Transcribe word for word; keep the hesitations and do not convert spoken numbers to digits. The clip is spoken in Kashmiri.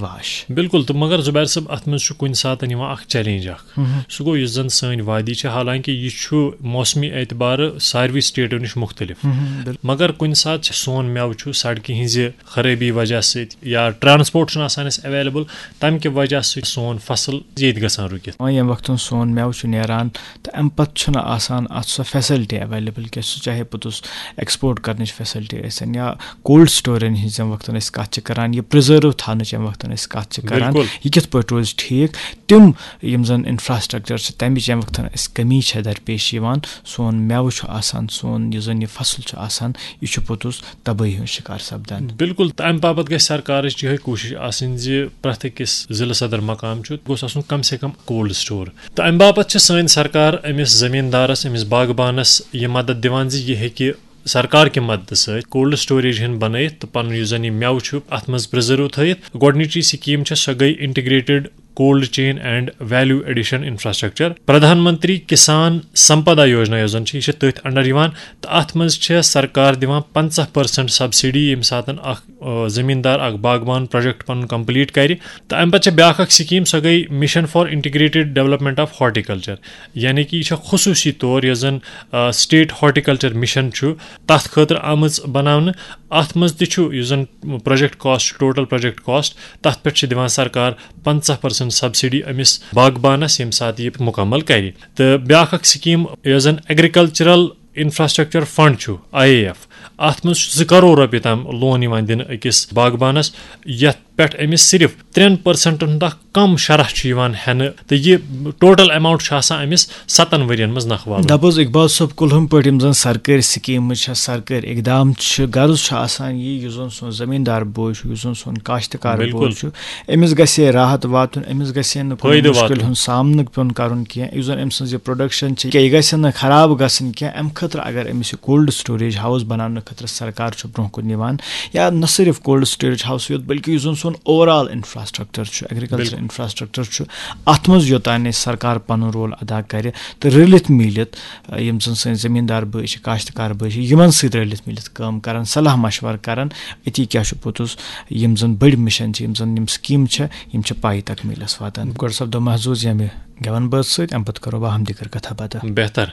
واش۔ بِلکُل۔ تہٕ مگر زُبیر صٲب، اَتھ منٛز چھُ کُنہِ ساتہٕ یِوان اَکھ چیلنج اَکھ۔ سُہ گوٚو یُس زَن سٲنۍ وادی چھِ، حالانکہ یہِ چھُ موسمی اعتبارٕ ساروٕے سٹیٹو نِش مُختٔلِف، مگر کُنہِ ساتہٕ چھِ سون مٮ۪وٕ چھُ سڑکہِ ہٕنٛزِ خرٲبی وجہ سۭتۍ یا ٹرانسپورٹ چھُنہٕ آسان اَسہِ ایویلیبل، تَمہِ کہِ وجہ سۭتۍ سون فصل ییٚتہِ گژھان رُکِتھ۔ وۄنۍ ییٚمہِ وقتہٕ سون مٮ۪وٕ چھُ نیران تہٕ اَمہِ پَتہٕ چھُنہٕ آسان اَتھ سۄ فیسلٹی ایویلیبل کینٛہہ، سُہ چاہے پوٚتُس ایکسپورٹ کرنٕچ فیسلٹی ٲسِن یا کولڈ سٹورن ہٕنٛز ییٚمہِ وقتہٕ أسۍ کَتھ چھِ کران، یہِ پرزرو تھاونٕچ ییٚمہِ وقتہٕ أسۍ کَتھ چھِ کران، بِلکُل۔ یہِ کِتھ پٲٹھۍ روزِ ٹھیٖک؟ تِم یِم زَن انفراسٹرکچر چھِ، تَمِچ ییٚمہِ وقتہٕ اَسہِ کٔمی چھےٚ درپیش یِوان، سون مٮ۪وٕ چھُ آسان، سون یُس زَن یہِ فصل چھُ آسان، یہِ چھُ پوٚتُس تبٲہی ہُنٛد شِکار سپدان۔ بِلکُل، تہٕ اَمہِ باپتھ گژھِ سرکارٕچ یِہوٚے کوٗشِش آسٕنۍ زِ پرٛٮ۪تھ أکِس ضلع صدر مقام چھُ، گوٚژھ آسُن کم سے کم کولڈ سٹور۔ تہٕ اَمہِ باپتھ چھِ سٲنۍ سرکار أمِس زٔمیٖندارَس، أمِس باغبانَس یہِ مدد دِوان زِ یہِ ہیٚکہِ سرکار کہِ مددٕ سۭتۍ کولڈ سٹوریج ہن بنٲیِتھ تہٕ پنُن یُس زن یہِ مٮ۪وٕ چھُ، اتھ منٛز پرزرو تھٲیِتھ۔ گۄڈٕنِچی سکیٖم چھےٚ، سۄ گٔے integrated cold chain and value addition infrastructure, Pradhan Mantri Kisan Sampada Yojana یۄس زن چھِ، یہِ چھِ تٔتھۍ انڈر یِوان۔ تہٕ اتھ منٛز چھےٚ سرکار دِوان پنٛژاہ پٔرسنٹ سبسڈی، ییٚمہِ ساتن اکھ، آ، زٔمیٖندار، اکھ باغبان پروجیکٹ پنُن کمپلیٹ کرِ۔ تہٕ امہِ پتہٕ چھےٚ بیاکھ اکھ سکیٖم، سۄ گٔے mission for integrated development of horticulture, یعنی کہِ یہِ چھےٚ خصوٗصی طور یۄس زن، آ، سٹیٹ ہارٹیکلچر مشن چھُ، تتھ خٲطرٕ آمٕژ بناونہٕ۔ اتھ منٛز تہِ چھُ یُس زن پروجیکٹ کاسٹ چھُ، ٹوٹل پروجیکٹ کاسٹ، تتھ پٮ۪ٹھ چھِ دِوان سرکار پنٛژاہ پٔرسنٹ سبسڈی أمِس باغبانس، ییٚمہِ ساتہٕ یہِ مکمل کرِ۔ تہٕ بیاکھ اکھ سکیٖم یۄس زن ایگریکلچرل انفراسٹرکچر فنڈ چھُ، آی اے ایف، اتھ منٛز چھُ زٕ کرور رۄپیہِ تام لون یِوان دِنہٕ أکِس باغبانس، یتھ پٮ۪ٹھ أمِس صرف ترٛٮ۪ن پٔرسنٹن ہُنٛد اکھ کم شرح چھُ یِوان ہٮ۪نہٕ، تہٕ یہِ ٹوٹل اماؤنٹ چھُ آسان أمِس ستن ؤرین منٛز نکھٕ والُن۔ دَپ حظ اقبال صٲب، کُلہُم پٲٹھۍ یِم زَن سرکٲرۍ سکیٖمہٕ چھےٚ، سرکٲرۍ اقدام چھِ، غرض چھُ آسان یی، یُس زَن سون زٔمیٖندار بوے چھُ، یُس زَن سون کاشتکار بِلکُل۔ بوے چھُ، أمِس گژھِ ہے راحت واتُن، أمِس گژھِ ہے نہٕ کُنہِ فٲیدٕ مُشکِل واتُن۔ ہُنٛد سامنہٕ پیوٚن کَرُن کینٛہہ، یُس زَن أمۍ سٕنٛز یہِ پروڈکشن چھِ، یہِ گژھِ ہے نہٕ خراب گژھٕنۍ کینٛہہ۔ اَمہِ خٲطرٕ اگر أمِس یہِ کولڈ سٹوریج ہاوُس بناونہٕ خٲطرٕ سرکار چھُ برونٛہہ کُن یِوان، یا نہ صرف کولڈ سٹوریج ہاوُس یوت، بلکہِ یُس زَن سون اوور آل انفراسٹرکچر چھُ، ایگریکلچر بِلکُل۔ انفراسٹرکچر چھُ، اتھ منٛز یوٚتام نہٕ سرکار پنُن رول ادا کرِ تہٕ رٔلِتھ میٖلِتھ، آ، یِم زَن سٲنۍ زٔمیٖندار بٲے چھِ، کاشتکار بٲے چھِ، یِمن سۭتۍ رٔلِتھ میٖلِتھ کٲم کرن، صلاح مشورٕ کرن، أتی کیٛاہ چھُ پوٚتُس یِم زَن بٔڑۍ مِشن چھِ، یِم زَن یِم سکیٖمہٕ چھِ، یِم چھِ پایہِ تکمیٖلس واتان۔ گۄڈٕ سپدو محظوظ ییٚمہِ گٮ۪ون بٲتھ سۭتۍ، اَمہِ پتہٕ کرو باہم دیٖگر کتھا باتھا۔ بہتر۔